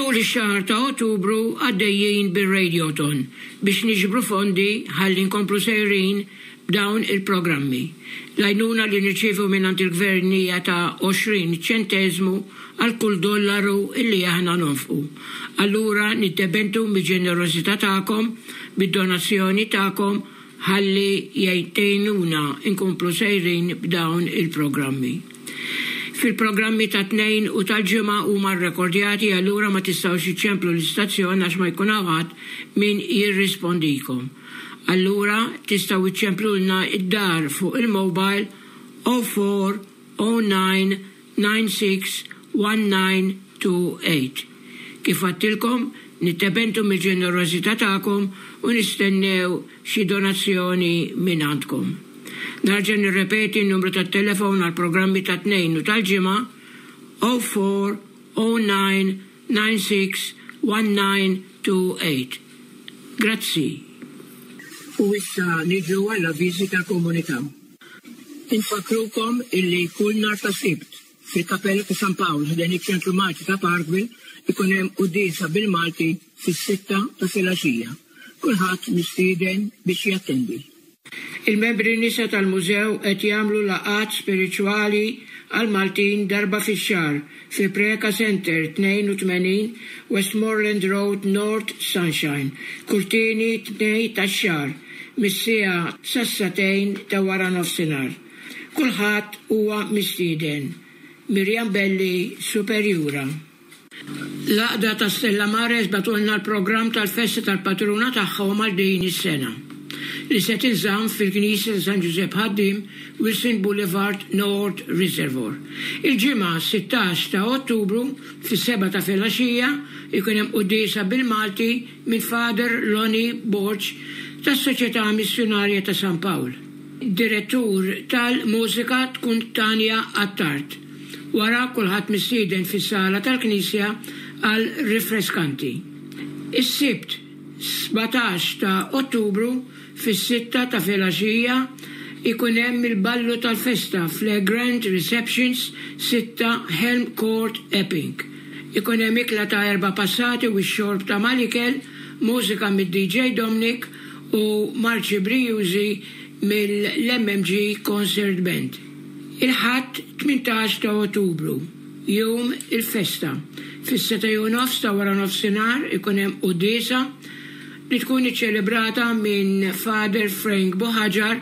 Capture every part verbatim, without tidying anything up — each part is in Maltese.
Tul ix-xahar ta' Ottubru għaddejjin bir-Radioton biex niġbru fondi ħalli nkomplu sejrin b'dawn il-programmi. L-għajnuna li nirċievu mingħand il-gvern hija ta' għoxrin ċenteżmu għal kull dollaru illi aħna nonfqu. Allura niddependu mill-ġenerożità tagħkom, bid-donazzjoni tagħkom ħalli jgħinuna nkomplu sejrin b'dawn il-programmi. Fil-programmi ta' Tnejn u tal-Ġimgħa huma rrekordjati, allura ma tistgħux iċċemplu l-istazzjon għax ma jkun hawn ħadd min jirrispondikom. Allura tistgħu iċċemplulna id-dar fuq il-mobile oh four oh nine nine six one nine two eight. Kif għedtilkom, niddependu mill-ġenerożità tagħkom u nistennew xi donazzjoni minn għandkom. Nerġa' nirrepeti n-numru tat-telefon għal programmi ta' Tnejn u tal-Ġimgħa: oh four oh nine nine six one nine two eight. Grazzi. U issa niġu għall-avviżi tal-komunità. Infakkrukom illi kull nhar ta' Sibt fil-Kapella ta' San Pawl ħdejn iċ-Ċentru Malti ta' Parkville ikun hemm quddiesa bil-Malti fis-sitta ta' filgħaxija. Kulħadd mistieden biex jattendi. Il-membri nisa tal-mużew qed jagħmlu laqgħat spiritwali għal Maltin darba fix-xahar fi Preka Center, tnejn u tmenin Westmoreland Road, North Sunshine, kull tieni Tnejn tax-xahar mis-siegħa sas-sagħtejn ta' wara nofsinhar. Kulħadd huwa mistieden. Mirjam Belli, Superjura. L-Għaqda ta' Stella Mares bagħtulna l-programm tal-festa tal-patruna tagħhom għal din is-sena li se tinżamm fil-Knisja ta' San Giuseppe Ħaddiem, Wilson Boulevard, North Reservoir. Il-Ġimgħa sittax ta' Ottubru fis-sebgħa ta' filgħaxija ikun hemm quddiesa bil-Malti minn Father Lonnie Borg tas-Soċjetà Missjonarja ta' San Pawl. Direttur tal-mużika tkun Tanja Attard. Wara kulħadd mistieden fis-sala tal-Knisja għal rifreskanti. Is-Sibt sbatax ta' Ottubru fis-sitta ta' filgħaxija ikun hemm il-ballu tal-festa fl-Grand Receptions, sitta Helm Court, Epping. Ikun hemm ikla ta' erba' passati u x-xorb ta' mal-ikel, mużika mid-D J Dominic u marċi brijużi mill-M M G Concert Band. Il-Ħadd tmintax ta' Ottubru, jum il-festa. Fis-sitta u nofs ta' wara nofsinhar ikun hemm quddiesa li tkun iċċelebrata minn Father Frank Boħaġar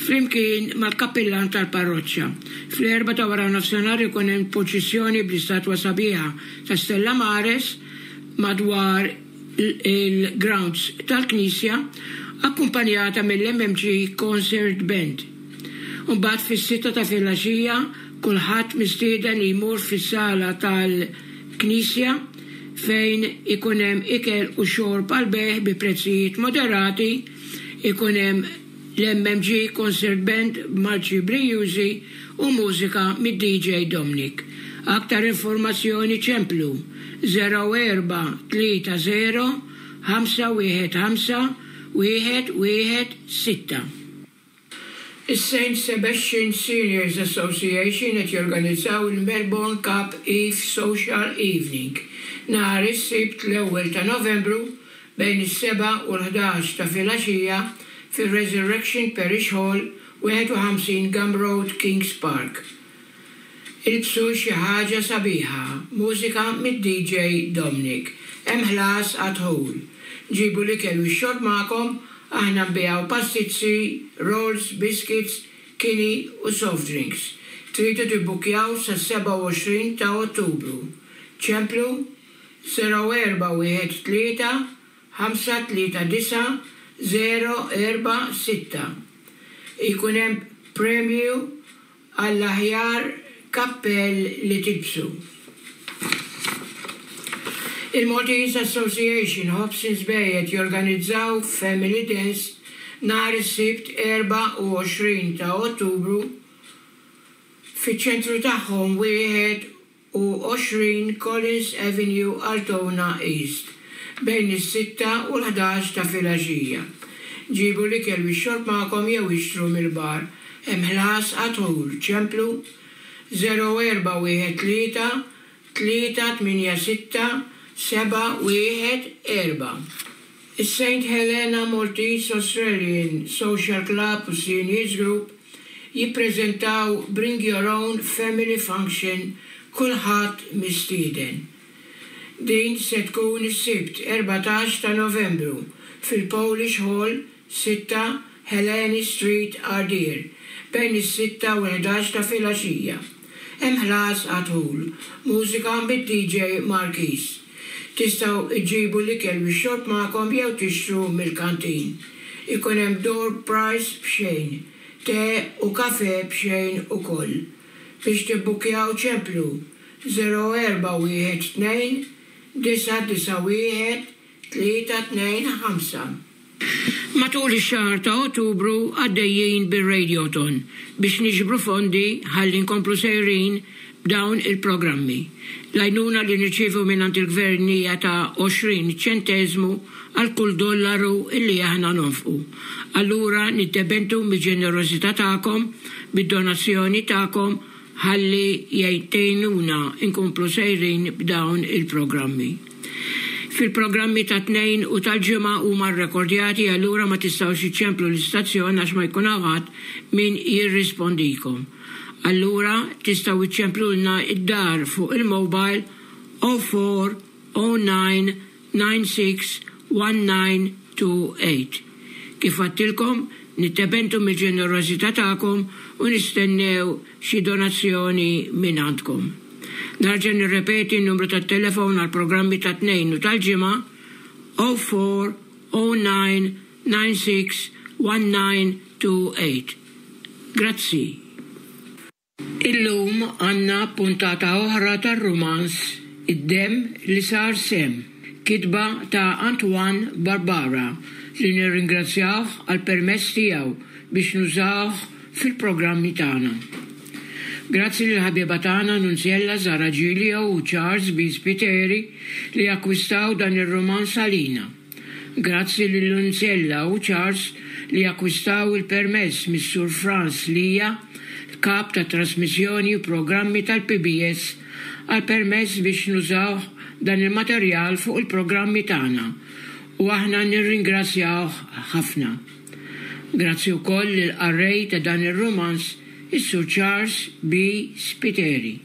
flimkien mal-kappillan tal-parroċċa. Fl-erbgħa ta' wara nofsinhar ikun hemm purċissjoni bl-istatwa sabiħa ta' Stella Mares madwar il-grounds tal-Knisja, akkumpanjata mill-M M G Concert Band. Mbagħad fis-sitta ta' filgħaxija kulħadd mistieden li jmur fis-sala tal-Knisja fejn ikun hemm ikel u xorb għal bejgħ bi prezzijiet moderati, ikun hemm l-M M G Concert Band b'marċi brijużi u mużika mid-D J Dominic. Aktar informazzjoni ċemplu zero erba' tlieta zero ħamsa wieħed ħamsa wieħed wieħed sitta. Is-Saint Sebastian Seniors Association qed jorganizzaw il-Melbourne Cup Eve Social Evening nhar is-Sibt l-ewwel ta' Novembru bejn is-sebgħa u l-ħdax ta' filgħaxija fir-Resurrection Parish Hall, wieħed u ħamsin Gum Road, Kings Park. Ilbsu xi ħaġa sabiħa, mużika mid-D J Dominic. Hemm ħlas għad-dħul. Ġibu l-ikel u x-xorb magħkom, aħna nbigħu pastizzi, rolls, biscuits, kini u soft drinks. Tridu tibbukjaw sa sebgħa u għoxrin ta' Ottubru. Ċemplu zero erba' wieħed tlieta ħamsa tlieta disgħa zero erba' sitta. Ikun hemm premju għall-aħjar kappell li tilbsu. Il-Maltese Association Hobsons Bay qed jorganizzaw Family Dance nhar is-Sibt erbgħa u għoxrin ta' Ottubru fiċ-ċentru tagħhom, wieħed u għoxrin Collins Avenue, Altona East, bejn is-sitta u l-ħdax ta' filgħaxija. Ġibu l-ikel u x-xorb magħkom jew ixtru mill-bar. Hemm ħlas għad-dħul. Ċemplu zero erba' wieħed tlieta tlieta tmienja sitta seba' wieħed erba'. Is-Saint Helena Maltese Australian Social Club u Seniors Group jippreżentaw Bring Your Own Family Function kulħadd mistieden. Din se tkun is-Sibt erbatax ta' Novembru fil-Polish Hall sitta Helene Street Ardeer bejn is-sitta u l-ħdax ta' filgħaxija. Hemm ħlas għad-dħul. Mużika mid-D J Marquis. Tistgħu iġibu l-ikel u x-xorb magħkom jew tixtru mill-kantin. Ikun hemm door prize b'xejn, te u kafe b'xejn ukoll. Biex tibbukjaw ċemplu zero erba' wieħed tnejn disa' disa' wieħed tlieta tnejn ħamsa. Matul ix-xahar ta' Ottubru għaddejjin bir-Radiothon biex niġbru fondi ħalli nkomplu sejrin b'dawn il-programmi. L-għajnuna li nirċievu mingħand il-gvern hija ta' għoxrin ċenteżmu għal kull dollaru illi aħna nonfqu. Allura niddependu mill-ġenerożità tagħkom, bid-donazzjoni tagħkom ħalli jgħinuna nkomplu sejrin b'dawn il-programmi. Fil-programmi ta' tnejn u tal-ġimgħa huma rrekordjati, allura ma tistgħux iċċemplu l-istazzjon għax ma jkun hawn ħadd min jirrispondikom. Allura tistgħu iċċemplulna id-dar fuq il-mobile oh four oh nine nine six one nine two eight. Kif għattilkom, nittebentu mill-ġenerożità tagħkom u nistennew xi donazzjoni minn għandkom. Narġa' nirrepeti n-numru tat-telefon għal programmi ta' tnejn u tal-ġimgħa oh four oh nine nine six one nine two eight. Grazzi. Illum għandna puntata oħra tar-rumanz Id-Demm li Sar Semm, kitba ta' Antoine Barbara li nirringrazzjawh għal permess tiegħu biex nużawh fil-programmi tagħna. Grazzi lil ħabiba tagħna Nunziella Zara Giglio u Charles B. Spiteri li akkwistaw dan ir-rumanz għalina. Grazzi lil Nunziella u Charles li akkwistaw il-permess mis-Sur Franz Lija, kap ta' trasmissjoni u programmi tal-P B S, għal permess biex nużaw dan il-materjal fuq il-programmi tagħna u aħna nirringrazzjawh ħafna. Grazzi wkoll lil qarrej ta' dan ir-rumanz, is-Sur Charles B. Spiteri.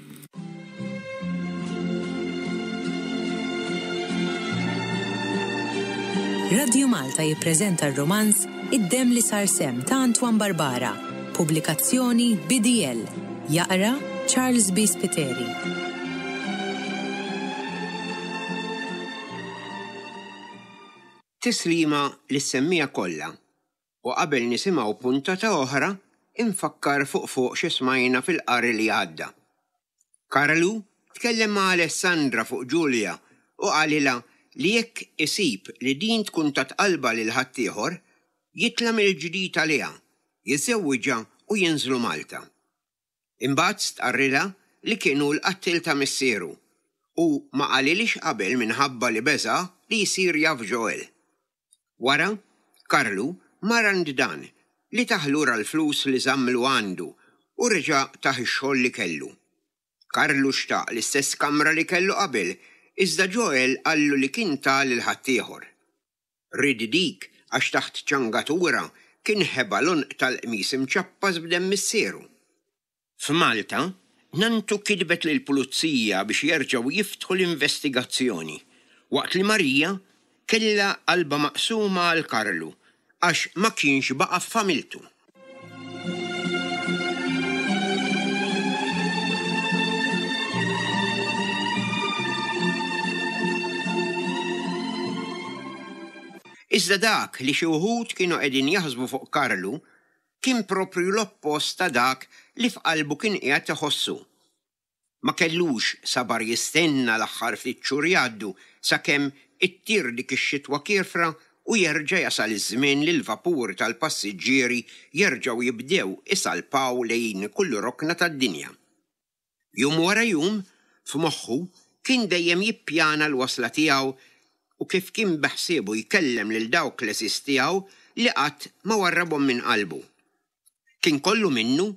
Radio Malta jippreżenta r-romanz Id-Demm li Sar Semm ta' Antoine Barbara, pubblikazzjoni B D L. Jaqra Charles B. Spiteri. Tislima lis-semmija kollha u qabel nisimgħu puntata oħra infakkar fuq fuq xi smajna fil-qari li għadda. Karlu tkellem ma' Alessandra fuq Giulia u qalilha li jekk isib li din tkun tat qalba lil ħaddieħor, jitla' mill-ġdid għaliha, jiżżewwiġha u jinżlu Malta. Imbagħad stqarrilha li kienu l-qattil ta' missieru u ma qalilix qabel minħabba li beża' li jsir jaf Joel. Wara, Karlu mar għand dan li tah lura l-flus li żammlu għandu u reġa' tah ix-xogħol li kellu. Karlu xtaq l-istess kamra li kellu qabel, iżda Joel qallu li kien ta lil ħaddieħor. Ried dik għax taħt ċangatura kien ħeba l-għonq tal-qmis imċappas b'demm missieru. F'Malta, Nantu kitbet lill-pulizija biex jerġgħu jiftħu l-investigazzjoni, waqt li Marija kellha qalba maqsuma għal Karlu għax ma kienx baqa' f'familtu. Iżda dak li xi wħud kienu qegħdin jaħsbu fuq Karlu kien proprju l-oppost ta' dak li f'qalbu kien qiegħed iħossu. Ma kellux sabar jistenna l-aħħar ftit xhur jgħaddu sakemm ittir dik ix-xitwa kiefra u jerġa' jasal iż-żmien li l-vapuri tal-passiġġieri jerġgħu jibdew isalpaw lejn kull rokna tad-dinja. Jum wara jum, f'moħħu kien dejjem jippjana l-wasla tiegħu u kif kien beħsiebu jkellem lil dawk l-għeżież tiegħu li qatt ma warrabhom minn qalbu. Kien kollu minnu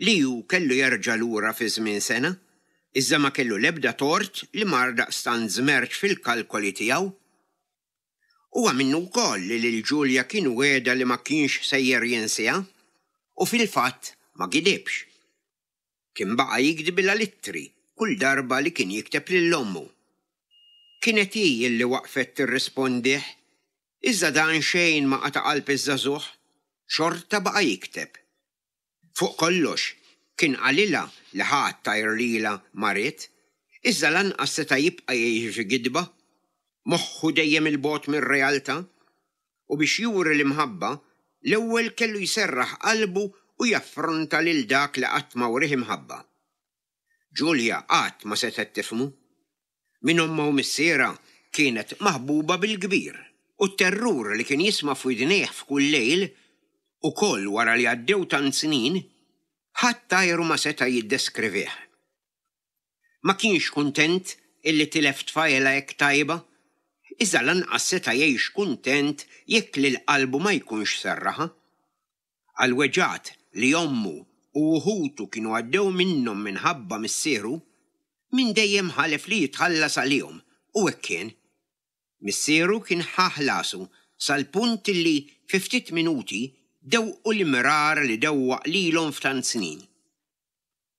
li hu kellu jerġa' lura fi żmien sena, Iżda ma kellu l-ebda tort li mar daqstant żmerċ fil-kalkoli tiegħu. Huwa minnu wkoll li lil Ġulja kien wegħda li ma kienx sejjer jinsiha, u fil-fatt ma gidibx. Kien baqa' jikdbilha l-ittri kull darba li kien jikteb lil ommu. Kienet hi li waqfet tirrispondih, iżda dan xejn ma qata' qalb iż-żagħżugħ, xorta baqa' jikteb. Fuq kollox, kien qalilha li ħadd għajr lilha ma ried, iżda lanqas seta' jibqa' jgħix f'gidba, moħħu dejjem 'il bogħod mir-realtà. U biex juri l-imħabba, l-ewwel kellu jserraħ qalbu u jaffronta lil dak li qatt ma wrieh imħabba. Ġulja qatt ma setgħet tifhmu. Minn ommha u missierha kienet maħbuba bil-kbir, u t-terrur li kien jisma' f'widnejh f'kull lejl, ukoll wara li għaddew tant snin, ħadd għajru ma seta' jiddeskrivih. Ma kienx kuntent illi tilef tfajla hekk tajba, iżda lanqas seta' jgħix kuntent jekk lil qalbu ma jkunx serraħha. Għall-weġgħat li ommu u ħutu kienu għaddew minnhom minħabba missieru, minn dejjem ħalef li jitħallas għalihom u hekk kien. Missieru kien ħa ħlasu sal-punt li fi ftit minuti dewqu l-imrar li dewwaq lilhom f'tant snin.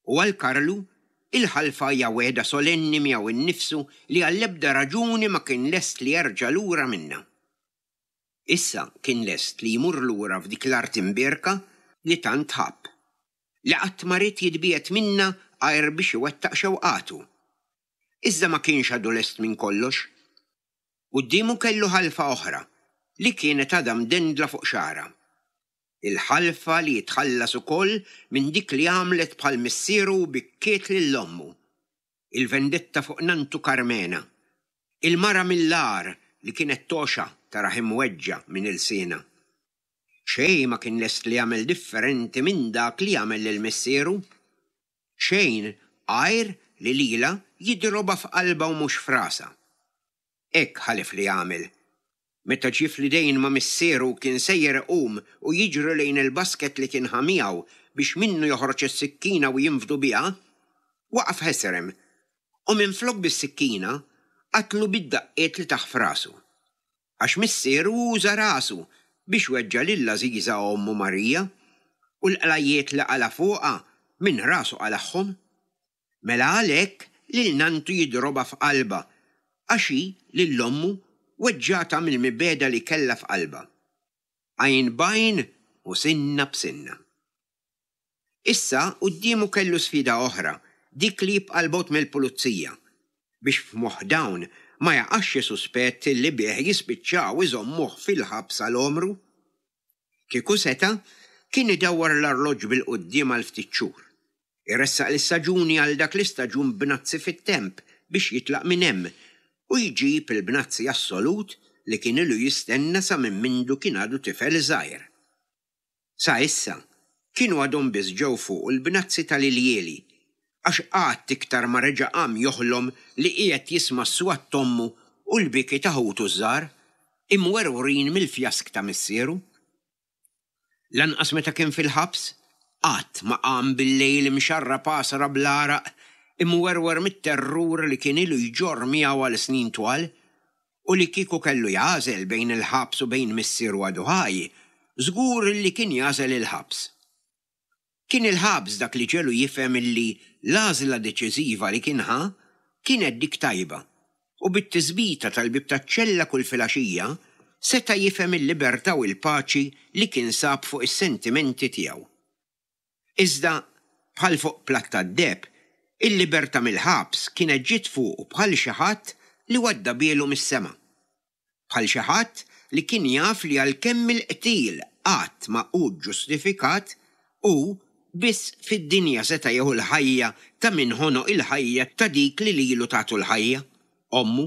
U għal Karlu, il-ħalfa hija wegħda solenni miegħu nnifsu li għall-ebda raġuni ma kien lest li jerġa' lura minnha. Issa kien lest li jmur lura f'dik l-art imbierka li tant ħabb, li qatt ma ried jitbiegħed minnha għajr biex iwettaq xewqatu. Iżda ma kienx għadu lest minn kollox. Quddiemu kellu ħalfa oħra li kienet għadha mdendla fuq xagħarha. Il-ħalfa li jitħallas ukoll minn dik li għamlet bħal missieru u bikkiet lil ommu. Il-vendetta fuq nantu Karmena. Il-mara mill-agħar li kienet toxa tarah imweġġa' minn ilsienha. Xejn ma kien lest li jagħmel differenti minn dak li għamel lil missieru. Xejn għajr li lilha jidrobha f'qalbha u mhux f'rasha. Hekk ħalef li jagħmel. Meta ġie fl-idejn ma' missieru kien sejjer iqum u jiġri lejn il-basket li kien ħa miegħu biex minnu joħroġ is-sikkina u jinfdu biha, waqaf ħesrem u minflok bis-sikkina qatlu bid-daqqiet li tah f'rasu. Għax missieru uża rasu biex weġġa' lil għażiża ommu Marija u l-qlajjiet li qala' fuqha minn rasu qalagħhom. Mela għalhekk lil nantu jidrobha f'qalbha għax hi lil ommu weġġgħatha mill-mibegħda li kellha f'qalbha. Għajn b'għajn u sinna b'sinna. Issa quddiemu kellu sfida oħra, dik li jibqa' 'l bogħod mill-pulizija, biex f'moħħ dawn ma jaqax xi suspett li bih jispiċċaw iżommuh fil-ħabs għal għomru. Kieku seta', kien idawwar l-arloġġ bil-quddiem għal ftit xhur. Iressaq l-istaġuni għal dak l-istaġun b'nazzi fit-temp biex jitlaq minn hemm u jġib il-bnazzi assolut li kien ilu jistenna sa minn mindu kien għadu tifel żgħir. Sa issa, kienu għadhom biss ġew fuqu l-bnazzi tal-iljieli, għax qatt iktar ma reġa' qam joħlom li qiegħed jisma' s-swat t'ommu u l-biki ta' ħutu ż-żgħar, imwerwrin mill-fjask ta' missieru. Lanqas meta kien fil-ħabs, qatt ma qam bil-lejl imxarrab għasra bl-għaraq, imwerwer mit-terrur li kien ilu jġorr miegħu għal snin twal, u li kieku kellu jagħżel bejn il-ħabs u bejn missieru għadu ħaj, żgur li kien jagħżel il-ħabs. Kien il-ħabs dak li ġelu jifhem illi l-għażla deċiżiva li kien ħa kienet dik tajba, u bit-tisbita tal-bieb taċ-ċella kull filgħaxija seta' jifhem il-libertà u l-paċi li kien sab fuq is-sentimenti tiegħu. Iżda, bħal fuq platt tad-deheb, il-libertà mill-ħabs kienet ġiet fuqu bħal xi ħadd li waddabielu mis-sema. Bħal xi ħadd li kien jaf li għalkemm il-qtil qatt ma hu ġġustifikat, hu biss fid-dinja seta' jieħu l-ħajja ta' min ħonoq il-ħajja ta' dik li lilu tatu l-ħajja, ommu.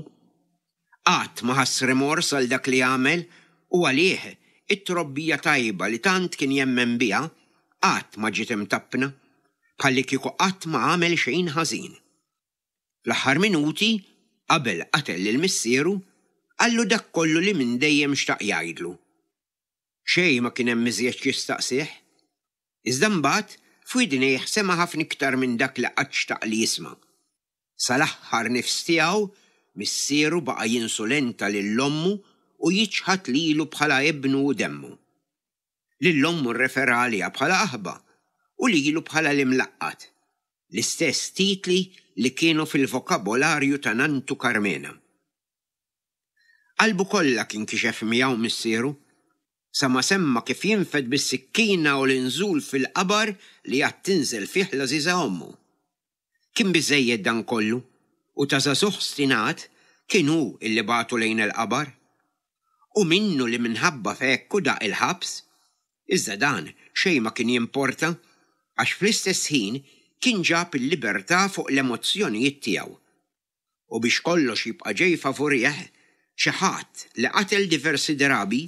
Qatt ma ħass rimors għal dak li għamel u għalih it-trobbija tajba li tant kien jemmen biha qatt ma ġiet imtappna, bħallikieku qatt ma għamel xejn ħażin. Fl-aħħar minuti, qabel qatel lil missieru, qallu dak kollu li minn dejjem xtaq jgħidlu. Xejn ma kien hemm iżjed x'jistaqsih. Iżda mbagħad f'widnejh sema' ħafna iktar minn dak li qatt xtaq li jisma'. Sal-aħħar nifs tiegħu, missieru baqa' jinsulenta lil ommu u jiċħad lilu bħala ibnu u demmu. Lil ommu rrefera għaliha bħala qaħba u lilu bħala l-imlaqqat, l-istess titli li kienu fil-vokabolarju ta' nantu Karmena. Qalbu kollha kien kixef miegħu missieru, sa ma semma kif jinfed bis-sikkina u l-inżul fil-qabar li għad tinżel fih l-għażiża ommu. Kien biżżejjed dan kollu, u ta' żagħżugħ stinat kien hu illi bagħtu lejn il-qabar. U minnu li minħabba f'hekk hu daq il-ħabs. Iżda dan xejn ma kien jimporta għax fl-istess ħin kien ġab il-libertà fuq l-emozzjonijiet tiegħu. U biex kollox jibqa' ġej favurih, xi ħadd li qatel diversi drabi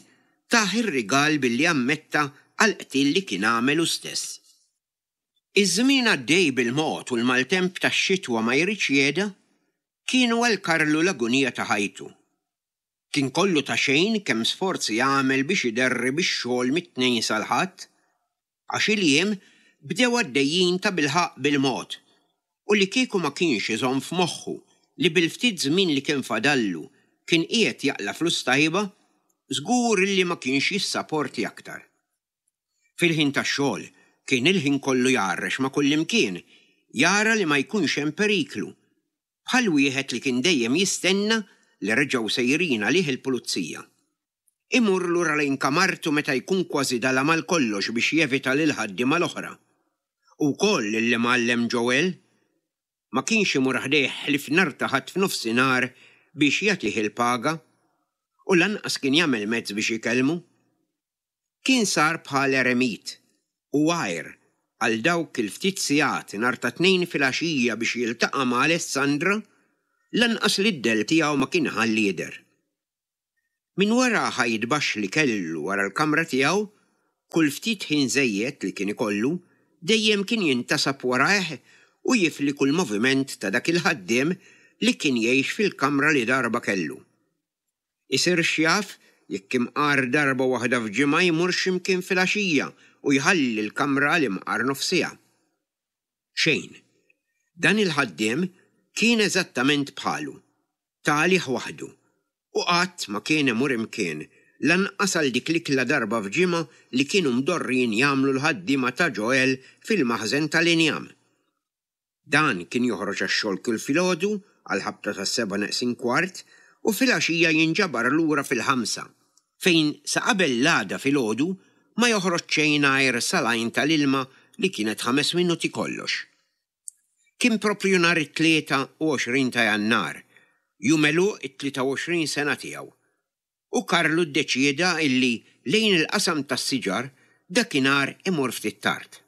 tah ir-rigal billi ammetta għall-qtil li kien għamel hu stess. Iż-żmien għaddej bil-mod u l-maltemp tax-xitwa ma jridx jehda, kienu għal Karlu l-agunija ta' ħajtu. Kien kollu ta' xejn kemm sforzi għamel biex iderri bix-xogħol mit-Tnejn sal-Ħadd, għax il-jiem bdew għaddejjin tabilħaqq bil-mod, u li kieku ma kienx iżomm f'moħħu li bil-ftit żmien li kien fadallu kien qiegħed jaqla' flus tajba, żgur illi ma kienx jissaporti aktar. Fil-ħin tax-xogħol kien il-ħin kollu jgħarrex ma' kullimkien, jara li ma jkunx hemm periklu, bħal wieħed li kien dejjem jistenna li reġgħu sejrin għalih il-pulizija. Imur lura lejn kamartu meta jkun kważi dalam għal kollox biex jevita lill-ħaddiema l-oħra. U wkoll lill-imgħallem Joel. Ma kienx imur ħdejh ħlief nhar ta' Ħadd f'nofsinhar biex jagħtih il-paga, u lanqas kien jagħmel mezz biex ikellmu. Kien sar bħal eremit u għajr għal dawk il-ftit sigħat nhar ta' Tnejn filgħaxija biex jiltaqa' ma' Alessandra, lanqas lid-dell tiegħu ma kien iħalli jidher. Minn wara ħajt baxx li kellu wara l-kamra tiegħu, kull ftit ħin żejjed li kien ikollu, dejjem kien jintasab warajh u jifli kull moviment ta' dak il-ħaddiem li kien jgħix fil-kamra li darba kellu. Isir x'jaf jekk imqar darba waħda f'ġimgħa jmur xi mkien filgħaxija u jħalli l-kamra għal imqar nofs siegħa. Xejn. Dan il-ħaddiem kien eżattament bħalu, ta' għalih waħdu, u qatt ma kien imur imkien, lanqas għal dik l-ikla darba f'ġimgħa li kienu mdorrijin jagħmlu l-ħaddiema ta' Joel fil-maħżen tal-injam. Dan kien joħroġ għax-xogħol kull filgħodu għall-ħabta tas-sebgħa neqsin kwart u filgħaxija jinġabar lura fil-ħamsa, fejn sa qabel l-għada filgħodu ma joħroġ xejn għajr sal-għajn tal-ilma li kienet ħames minuti kollox. Kien proprju nhar it-tlieta u għoxrin ta' Jannar, jum għeluq it-tlieta u għoxrin sena tiegħu, u Karlu ddeċieda illi lejn il-qasam tas-siġar dakinhar imur ftit tard.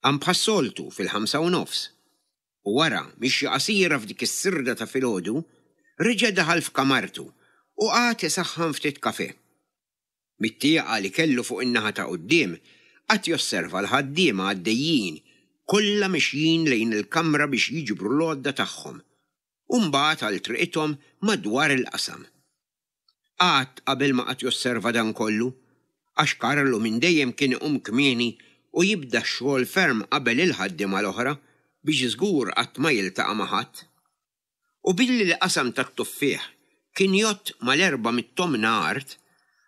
Qam bħas-soltu fil-ħamsa u nofs, u wara mixja qasira f'dik is-sirda ta' filgħodu, reġa' daħal f'kamartu u qagħad isaħħan ftit kafè. Mit-tieqa li kellu fuq in-naħa ta' quddiem qagħad josserva l-ħaddiema għaddejjin kollha mixjin lejn il-kamra biex jiġbru l-għodda tagħhom, u mbagħad għal triqithom madwar il-qasam. Qatt qabel ma qagħad josserva dan kollu, għax Karlu minn dejjem kien iqum kmieni u jibda x-xogħol ferm qabel il-ħaddiema l-oħra biex żgur qatt ma jiltaqa' ma' ħadd. U billi l-qasam tat-tuffieħ kien jgħodd mal-erba' mit-tomna art,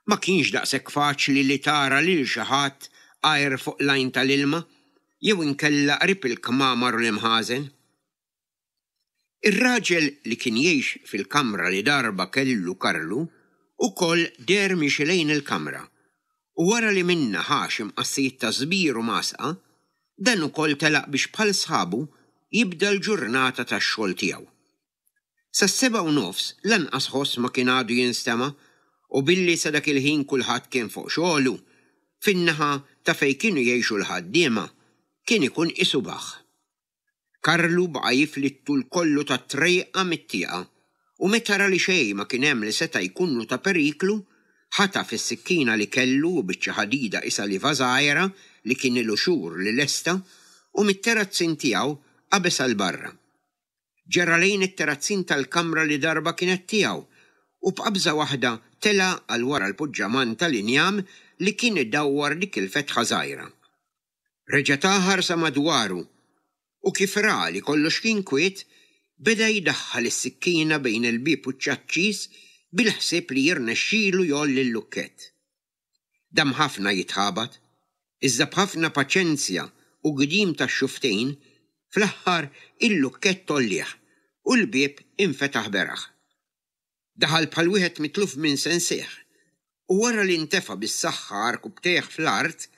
ma kienx daqshekk faċli li tara lil xi ħadd għajr fuq l-għajn tal-ilma jew inkella qrib il-kmamar u l-imħażen. Ir-raġel li kien jgħix fil-kamra li darba kellu Karlu ukoll deher miexi lejn il-kamra, u wara li minnha ħa xi mqassijiet ta' żbir u masqa, dan ukoll telaq biex bħal sħabu jibda l-ġurnata tax-xogħol tiegħu. Sas-sebgħa u nofs lanqas ħoss ma kien għadu jinstema' u billi sa dak il-ħin kulħadd kien fuq xogħlu, fin-naħa ta' fejn kienu jgħixu l-ħaddiema, kien ikun qisu baħħ. Karlu baqa' jifli t-tul kollu tat-trejqa mit-tieqa u meta ra li xejn ma kien hemm li seta' jkunlu ta' periklu, ħataf is-sikkina li kellu u biċċa ħadida qisha lieva żgħira li kien ilu xhur li lesta u mit-terazzin tiegħu qabeż għal barra. Ġera lejn it-terazzin tal-kamra li darba kienet tiegħu u b'qabża waħda tela' għal wara l-puġġaman tal-injam li kien idawwar dik il-fetħa żgħira. Reġa' ta ħarsa madwaru u kif ra li kollox kien kwiet, Beda jdaħħal is-sikkina bejn il-bieb u ċ-ċaċċis bil-ħsieb li jirnexxilu jgħolli l-lukkett. Dam ħafna jitħabat, iżda b'ħafna paċenzja u gdim tax-xufftejn, fl-aħħar il-lukkett għollieh u l-bieb infetaħ beraħ. Daħal bħal wieħed mitluf minn sensih u wara li ntefa' bis-saħħa għarkupptejh fl-art,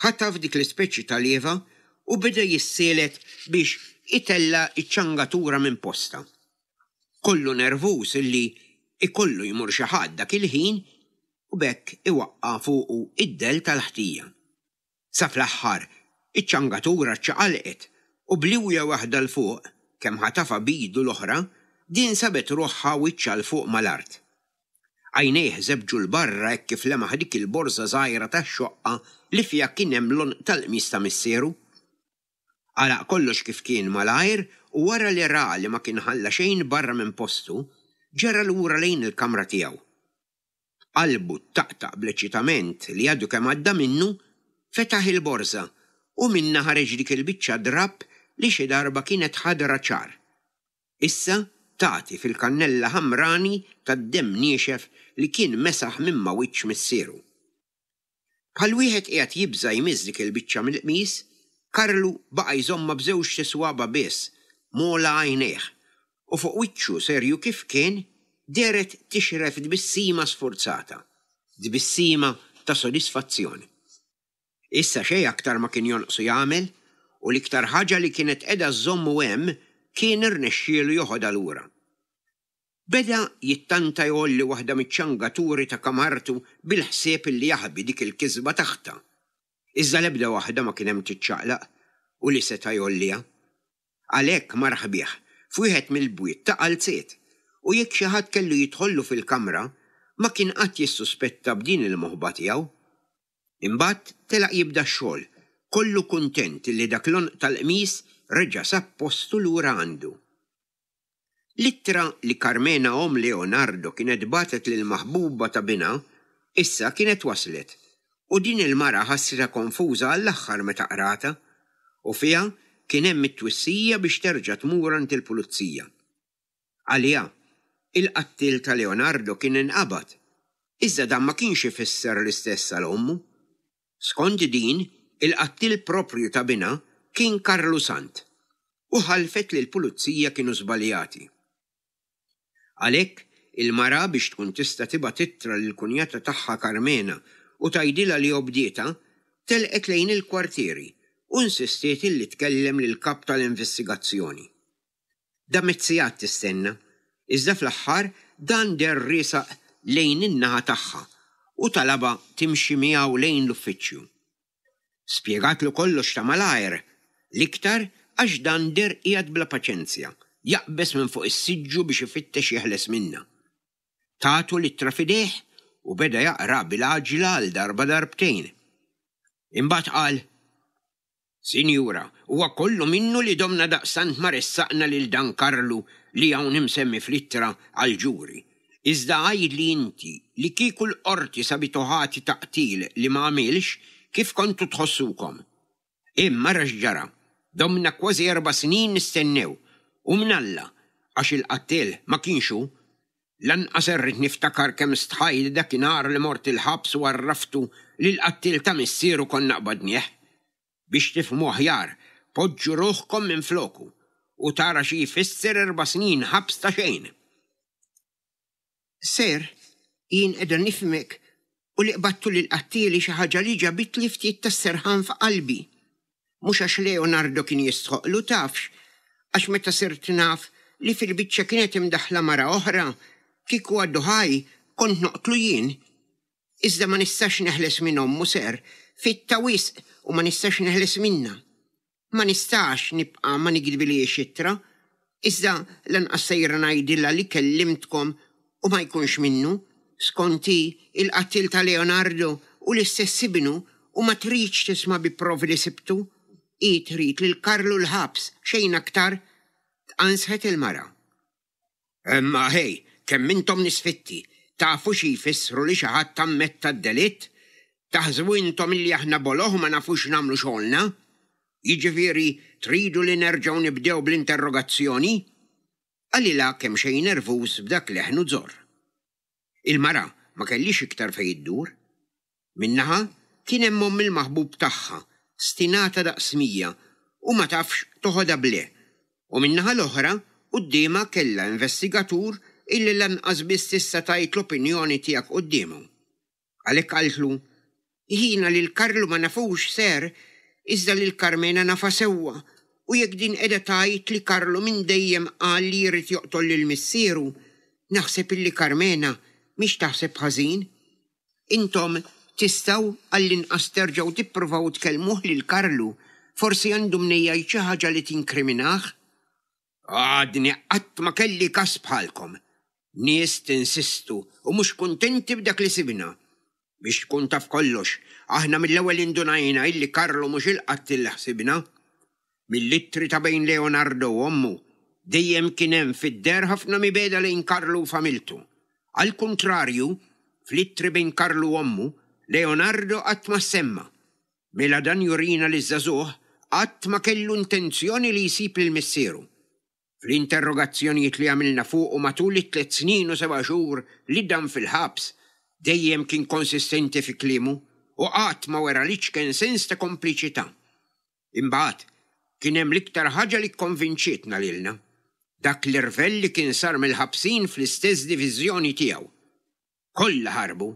ħataf dik l-ispeċi ta' lieva u beda jissielet biex itella' ċ-ċangatura minn postha. Kollu nervuż illi ikollu jmur xi ħadd dak il-ħin u b'hekk iwaqqa' fuqu id-dell tal-ħtija. Sa fl-aħħar, iċ-ċangatura ċċaqalqet u b'liwja waħda 'l fuq, kemm ħatafha b'idu l-oħra, din sabet ruħha wiċċha 'l fuq mal-art. Għajnejh żebġu 'l barra hekk kif lemaħ dik il-borża żgħira tax-xoqqa li fiha kien hemm l-għonq tal-qmis ta' missieru. Għalaq kollox kif kien malajr u wara li ra li ma kien ħalla xejn barra minn postu, ġera lura lejn il-kamra tiegħu. B'qalbu ttaqtaq bl-eċitament li għadu kemm għadda minnu, fetaħ il-borża u minnha ħareġ dik il-biċċa drapp li xi darba kienet ħadra ċar. Issa tagħti fil-kannella ħamrani tad-demm niexef li kien mesaħ minn ma' wiċċ missieru. Bħal wieħed qiegħed jibża' jmiss dik il-biċċa mill-qmis, Karlu baqa' jżommha b'żewġt iswaba' biss m'ogħla għajnejh u fuq wiċċu serju kif kien dehret tixref tbissima sfurzata, tbissima ta' sodisfazzjon. Issa xejn aktar ma kien jonqsu jagħmel u l-iktar ħaġa li kienet qiegħda żżommu hemm kien irnexxielu joħodha lura. Beda jittanta jgħolli waħda miċ-ċangaturi ta' kamartu bil-ħsieb li jaħbi dik il-kisba taħtha. Iżda l-ebda waħda ma kien hemm tiċċaqlaq u li seta' jgħolliha. Għalhekk mar ħbieh f'wieħed mill-bwiet ta' qalziet u jekk xi ħadd kellu jidħollu fil-kamra ma kien qatt jissuspetta b'din il-moħba tiegħu. Imbagħad telaq jibda x-xogħol, kollu kuntent li dak l-għonq tal-qmis reġa' sab postu lura għandu. L-ittra li Carmena omm Leonardo kienet bagħtet lill-maħbuba ta' binha issa kienet waslet u din il-mara ħassitha konfuża għall-aħħar meta qratha u fiha kien hemm it-twissija biex terġa' tmur għand il-pulizija. Għaliha, il-qattiel ta' Leonardo kien inqabad, iżda dan ma kienx ifisser l-istess għal ommu. Skont din, il-qattiel proprju ta' binha kien Karlu Sant u ħalfet li l-pulizija kienu żbaljati. Għalhekk, il-mara biex tkun tista' tibgħat ittra lill-kunjata tagħha Carmena u tgħidilha li obdietha, telqet lejn il-kwartieri u insistiet illi tkellem lill-kap tal-investigazzjoni. Damet sigħat tistenna, iżda fl-aħħar dan deher riesaq lejn in-naħa tagħha u talabha timxi miegħu lejn l-uffiċċju. Spjegatlu kollox ta' malajr, l-iktar għax dan deher qiegħed bla paċenzja, jaqbeż minn fuq is-siġġu biex ifittex jeħles minnha. Tatu l-ittra f'idejh u beda jaqra bil-għaġla għal darba darbtejn. Imbagħad qal, Sinjura, huwa kollu minnu li domna daqstant ma ressaqna lil dan Karlu li hawn imsemmi fl-ittra għall-ġuri. Iżda għidli inti li kieku l-qorti sabitu ħati ta' qtil li ma għamilx, kif kontu tħossukom? Imma ara x'ġara, domna kważi erba' snin nistennew, u mnalla, għax il-qattiel ma kienx hu. Lanqas irrid niftakar kemm stħajt dakinhar li mort il-ħabs u għarraftu li l-qattiel ta' missieru konna qbadnieh. Biex tifhmu aħjar, poġġu ruħkom minfloku u tara xi jfisser erba' snin ħabs ta' xejn. Sir, jien qiegħda nifhmek u li qbadtu lill-qattiel hi xi ħaġa li ġabitli ftit tas-serħan f'qalbi. Mhux għax Leonardo kien jistħoqqlu tafx, għax meta sirt naf li fil-biċċa kienet imdaħħla mara oħra, kieku għadu ħaj kont noqtlu jien. Iżda ma nistax neħles minn ommu, sir, fitta wisq u ma nistax neħles minnha. Ma nistax nibqa' ma nikdbilhiex ittra, iżda lanqas sejra ngħidilha li kellimtkom u ma jkunx minnu. Skont hi, il-qattiel ta' Leonardo hu l-istess ibnu u ma tridx tisma' bi provi li sibtu. Hi trid lil Karlu l-ħabs, xejn aktar, tqanżħet il-mara. Imma ħej, kemm intom nies fitti, tafu xi jfissru li xi ħadd ammetta d-delitt? Taħsbu intom illi aħna boloh u ma nafux nagħmlu xogħolna? Jiġifieri tridu li nerġgħu nibdew bl-interrogazzjoni? Qalilha kemxejn nervuż b'dak leħnu żorr. Il-mara ma kellhiex iktar fejn iddur. Minn naħa kien hemm omm il-maħbub tagħha, stinata daqs mija u ma tafx toħodha b'le, u min-naħa l-oħra quddiemha kellha investigatur illi lanqas biss tista' tgħid l-opinjoni tiegħek quddiemu. Għalhekk qaltlu, Jiena lil Karlu ma nafux, sir, iżda lil Karmena nafha sewwa, u jekk din qiegħda tgħid li Karlu minn dejjem qal li jrid joqtol lil missieru, naħseb illi Karmena mhix taħseb ħażin. Intom tistgħu għall-inqas terġgħu tippruvaw tkellmuh lil Karlu, forsi għandu mnejn jgħid xi ħaġa li tinkriminah. Għadni qatt ma kelli każ bħalkom. Nies tinsistu u mhux kuntenti b'dak li sibna. Biex tkun taf kollox, aħna mill-ewwel indunajna illi Karlu mhux il-qattiel li ħsibna. Mill-ittri ta' bejn Leonardo u ommu, dejjem kien hemm fid-deher ħafna mibegħda lejn Karlu u familtu. Għall-kuntrarju, fl-ittri bejn Karlu u ommu, Leonardo qatt ma ssemma. Mela dan jurina li ż-żagħżugħ qatt ma kellu intenzjoni li jsib lil missieru. Fl-interrogazzjonijiet li għamilna fuqu matul it-tliet snin u seba' xhur li dam fil-ħabs, dejjem kien konsistenti fi kliemu u qatt ma wera l-iċken sens ta' kompliċità. Imbagħad, kien hemm l-iktar ħaġa li kkonvinċietna lilna, dak l-irvell li kien sar mill-ħabsin fl-istess diviżjoni tiegħu. Kollha ħarbu,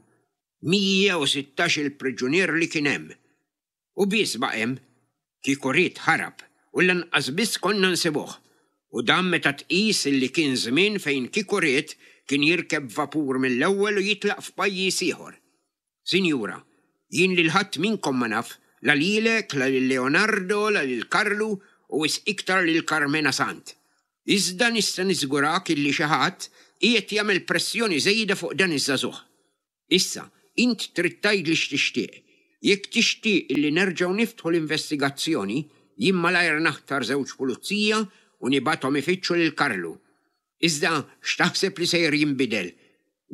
mija u sittax il-priġunier li kien hemm. U biss baqa' hemm, kieku ried ħarab u lanqas biss konna nsibuh. U dan meta tqis li kien żmien fejn kieku ried kien jirkeb vapur mill-ewwel u jitlaq f'pajjiż ieħor. Sinjura, jien lil ħadd minnkom ma naf, la lilek, la lil Leonardo, la lil Karlu u wisq iktar lil Karmena Sant. Iżda nista' niżgurak illi xi ħadd qiegħed jagħmel pressjoni żejda fuq dan iż-żagħżugħ. Issa, int trid tgħidli x'tixtieq. Jekk tixtieq illi nerġgħu niftħu l-investigazzjoni, jien malajr naħtar żewġ pulizija u nibgħathom ifittxu lil Karlu. Iżda x'taħseb li sejjer jinbidel?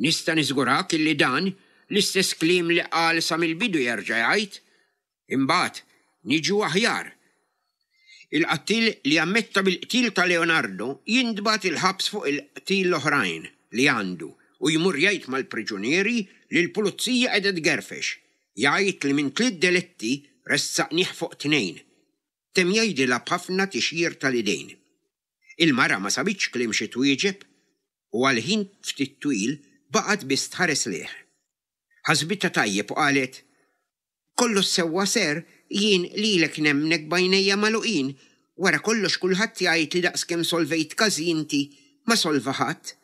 Nista' niżgurak illi dan l-istess kliem li qal sa mill-bidu jerġa' jgħid. Imbagħad niġu aħjar. Il-qattil li ammetta bil-qtil ta' Leonardo jintbagħat il-ħabs fuq il-qtil l-oħrajn li għandu u jmur jgħid mal-priġunieri li l-pulizija qiegħda tgerfex. Jgħid li minn tliet delitti ressaqnih fuq tnejn. Temm jgħidilha b'ħafna tixjir tal-idejn. Il-mara ma sabitx kliem xi twieġeb u għal ħin ftit twil baqgħet biss tħares lejh. Ħasbitha tajjeb u qalet, Kollox sewwa ser, jien lilek nemmnek b'għajnejja magħluqin, wara kollox kulħadd jgħid li daqskemm solvejt każi inti ma solva ħadd.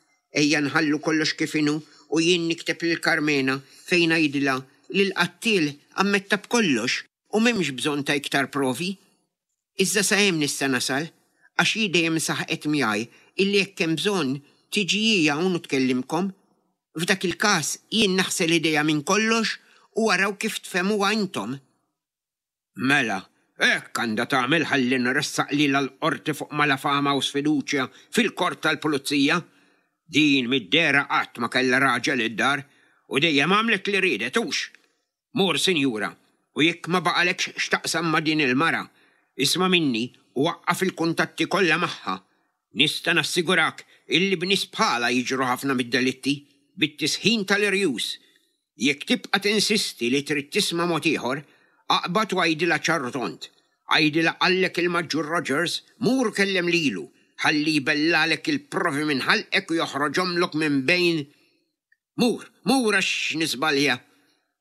Ejja nħallu kollox kif inhu u jien nikteb lil Karmena fejn ngħidilha li l-qattiel ammetta b'kollox u m'hemmx bżonn ta' iktar provi. Iżda sa hemm nista' nasal, għax hi dejjem saħqet miegħi illi jekk hemm bżonn tiġi hi hawn u tkellimkom. F'dak il-każ jien naħsel idejja minn kollox u araw kif tfehmuha intom. Mela, hekk għandha tagħmel ħalli nressaq lilha l-qorti fuq malafama u sfiduċja fil-korp tal-pulizija. Din mid-dehra qatt ma kellha raġel id-dar u dejjem għamlet li riedet hux. Mur, sinjura, u jekk ma baqalekx x'taqsam ma' din il-mara, isma' minni u waqqaf il-kuntatti kollha magħha. Nista' nassigurak illi b'nies bħalha jiġru ħafna mid-delitti bit-tisħin tal-irjus. Jekk tibqa' tinsisti li trid tisma' mod ieħor, aqbad u għidilha ċar u tond. Għidilha qallek il-Maġġur Rogers, mur kellem lilu, ħalli jbellalek il-provi minn ħalqek u joħroġhomlok minn bejn. Mur, mur għax nisbalja.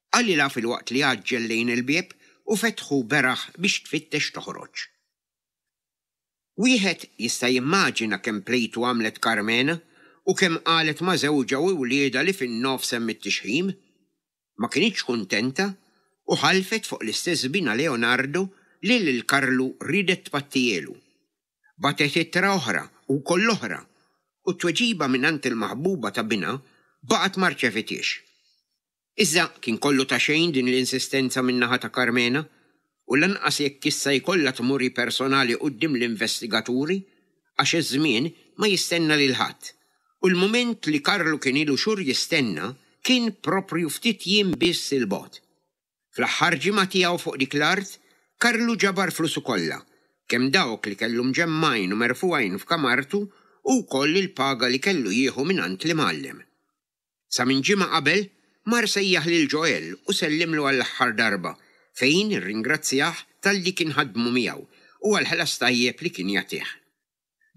Qalilha filwaqt li għaġġel lejn il-bieb u fetħu beraħ biex tfittex toħroġ. Wieħed jista' jimmaġina kemm plejtu għamlet Karmena u kemm qalet ma' żewġha u wliedha li fin-nofs hemm it-tixħim. Ma kinitx kuntenta u ħalfet fuq l-istess bina Leonardo li lil Karlu riedet tpattielu. Batet ittra oħra u koll oħra u t-tweġiba mingħand il-maħbuba ta' bina baqgħet ma rċevitiex. Iżda kien kollu ta' xejn din l-insistenza min-naħa ta' Karmena u lanqas jekk issa jkollha tmuri personali quddiem l-investigaturi għax iż-żmien ma jistenna lil ħadd. U l-mument li Karlu kien ilu xhur jistenna kien proprju ftit jiem biss il-bogħod. Fl-aħħar ġimgħa tiegħu fuq dik l-art, Karlu ġabar flusu kollha, kemm dawk li kellu mġemmajn u merfugħin f'kamartu u wkoll il-paga li kellu jieħu mingħand l-imgħallem. Sa minn ġimgħa qabel mar sejjaħ lil Joel u sellimlu għall-aħħar darba fejn irringrazzjah talli kien ħadmu miegħu u għall-ħlas tajjeb li kien jagħtih.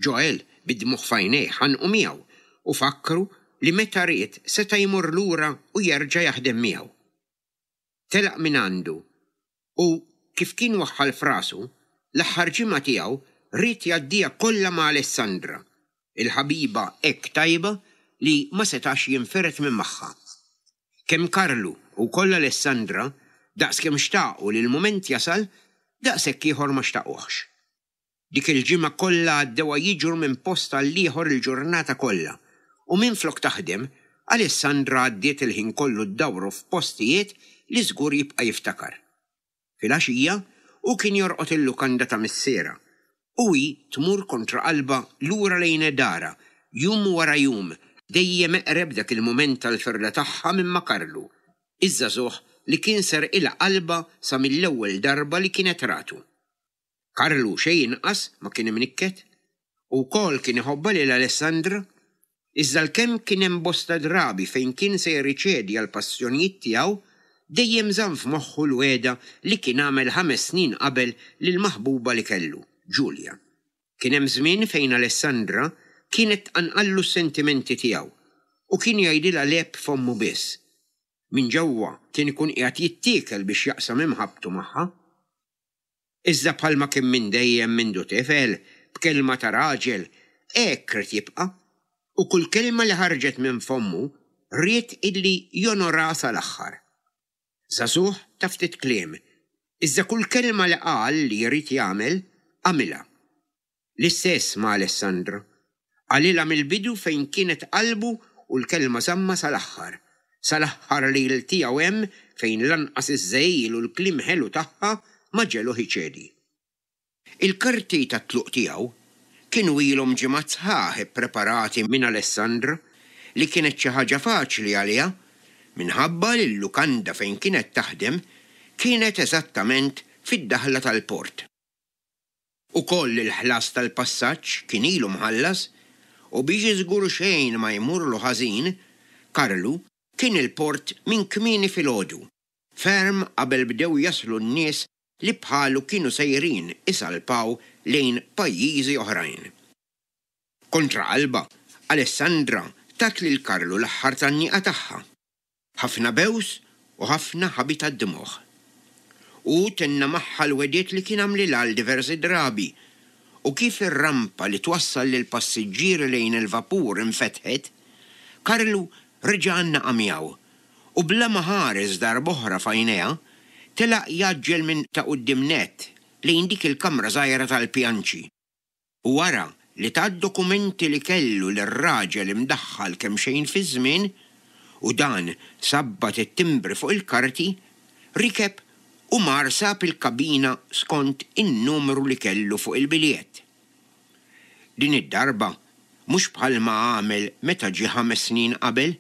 Joel bid-dmugħ f'għajnejh ħanqu miegħu u fakkru li meta ried seta' jmur lura u jerġa' jaħdem miegħu. Telaq minn għandu u kif kien waħħal f'rasu, l-aħħar ġimgħa tiegħu ried jgħaddiha kollha ma' Alessandra, il-ħabiba hekk tajba li ma setax jinfired minn magħha. Kemm Karlu u wkoll Alessandra daqskemm xtaqu li l-mument jasal, daqshekk ieħor ma xtaquhx. Dik il-ġimgħa kollha għaddewha jiġru minn post għall-ieħor il-ġurnata kollha u minflok taħdem, Alessandra għaddiet il-ħin kollu ddawru f'postijiet li żgur jibqa' jiftakar. Filgħaxija, hu kien jorqod il-lukanda ta' missierha u hi tmur kontra qalbha lura lejn darha, jum wara jum, dejjem eqreb dak il-mument tal-firda tagħha minn ma' Karlu, iż-żagħżugħ li kien serqilha qalbha sa mill-ewwel darba li kienet ratu. Karlu xejn inqas ma kien imnikket. Hu wkoll kien iħobbha lil Alessandra. Iżda għalkemm kien hemm bosta drabi fejn kien sejjer iċedi għall-passjonijiet tiegħu, dejjem żamm f'moħħu l-wegħda li kien għamel ħames snin qabel lill-maħbuba li kellu, Julia. Kien hemm żmien fejn Alessandra kienet tqanqallu s-sentimenti tiegħu u kien jgħidilha le b'fommu biss. Minn ġewwa kien ikun qiegħed jittiekel biex jaqsam imħabbtu magħha. Iżda bħalma kien minn dejjem mindu tifel, b'kelma ta' raġel, hekk ried jibqa' u kull kelma li ħarġet minn fommu ried illi jonorha sal-aħħar. Żagħżugħ ta' ftit kliem, iżda kull kelma li qal li jrid jagħmel, għamilha. L-istess ma' Alessandra. Qalilha mill-bidu fejn kienet qalbu u l-kelma żammha sal-aħħar, sal-aħħar lejl tiegħu hemm fejn lanqas iż-żegħil u l-kliem ħelu tagħha ma ġegħluh iċedi. Il-karti tat-tluq tiegħu kienu ilhom ġimgħat sħaħ ippreparati minn Alessandra, li kienet xi ħaġa faċli għaliha minħabba li l-lukanda fejn kienet taħdem kienet eżattament fid-daħla tal-port. Ukoll il-ħlas tal-passaġġ kien ilu mħallas u biex żgur xejn ma jmurlu ħażin, Karlu kien il-port minn kmieni filgħodu, ferm qabel bdew jaslu n-nies li bħalu kienu sejrin isalpaw lejn pajjiżi oħrajn. Kontra qalbha, Alessandra tat lil Karlu l-aħħar tgħanniqa tagħha. Ħafna bews u ħafna ħabi tad-dmugħ. Hu tenna magħha l-wegħdiet li kien għamlilha għal diversi drabi u kif ir-rampa li twassal lill-passiġġieri lejn il-vapur infetħet, Karlu reġa' għannaqha miegħu u bla ma ħares darb'oħra f'għajnejha, telaq jgħaġġel minn ta' quddiem nett lejn dik il-kamra żgħira tal-pjanċi u wara li ta d-dokumenti li kellu lir-raġel imdaħħal kemxejn fiż-żmien u dan sabbat it-timbri fuq il-karti, rikeb u mar sab il-kabina skont in-numru li kellu fuq il-biljett. Din id-darba mhux bħalma għamel meta ġie ħames snin qabel.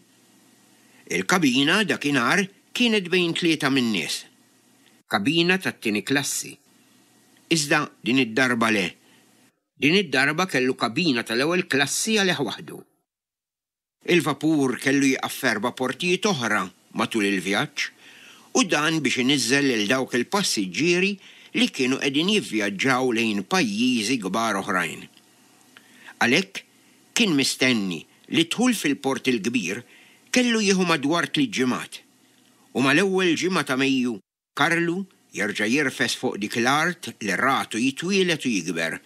Il-kabina dakinhar kienet bejn tlieta min-nies. Kabina tat-tieni klassi. Iżda din id-darba le. Din id-darba kellu kabina tal-ewwel klassi għalih waħdu. Il-vapur kellu jieqaf f'erba' portijiet oħra matul il-vjaġġ u dan biex iniżżel lil dawk il-passiġġieri li kienu qegħdin jivvjaġġaw lejn pajjiżi kbar oħrajn. Għalhekk kien mistenni li d-dħul fil-Port il-Kbir kellu jieħu madwar tliet ġimgħat u mal-ewwel ġimgħa ta' Mejju Karlu jerġa' jirfes fuq dik l-art li ratu jitwieled u jikber,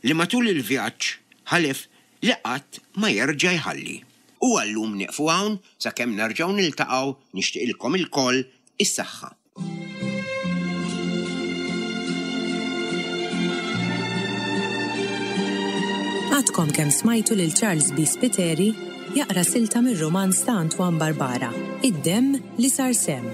li matul il-vjaġġ ħalef li qatt ma jerġa' jħalli. U għal-lum nieqfu hawn sakemm nerġgħu niltaqgħu nixtieqilkom ilkoll is-saħħa. Għadkom kemm smajtu lil Charles B. Spiteri jaqra silta mir-rumanz ta' Antoine Barbara, Id-demm li sar semm.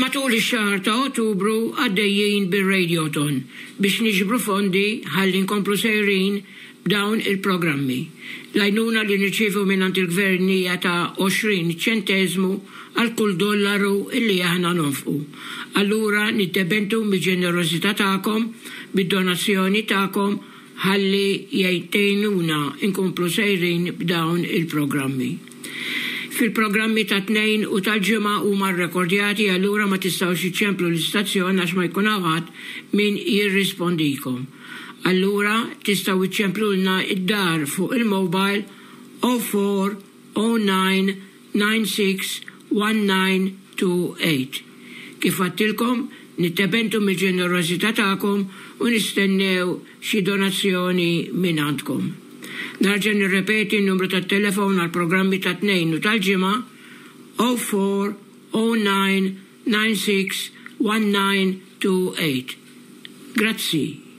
Matul ix-xahar ta' Ottubru għaddejjin bir-Radiothon biex niġbru fondi ħalli nkomplu sejrin b'dawn il-programmi. L-għajnuna li nirċievu mingħand il-gvern hija ta' għoxrin ċenteżmu għal kull dollaru illi aħna nonfqu. Allura niddependu mill-ġenerożità tagħkom, bid-donazzjoni tagħkom ħalli jgħinuna inkomplu sejrin b'dawn il-programmi. Fil-programmi ta' Tnejn u tal-Ġimgħa huma rrekordjati, allura ma tistgħux iċċemplu l-istazzjon għax ma jkun hawn ħadd min jirrispondikom. Allura tistgħu iċċemplulna id-dar fuq il-mobile oh four oh nine nine six one nine two eight. Kif għedtilkom, niddependu mill-ġenerożità tagħkom u nistennew xi donazzjoni minn għandkom. Nerġa' nirrepeti n-numru tat-telefon għal programmi ta' Tnejn u tal-Ġimgħa oh four oh nine nine six one nine two eight. Grazzi.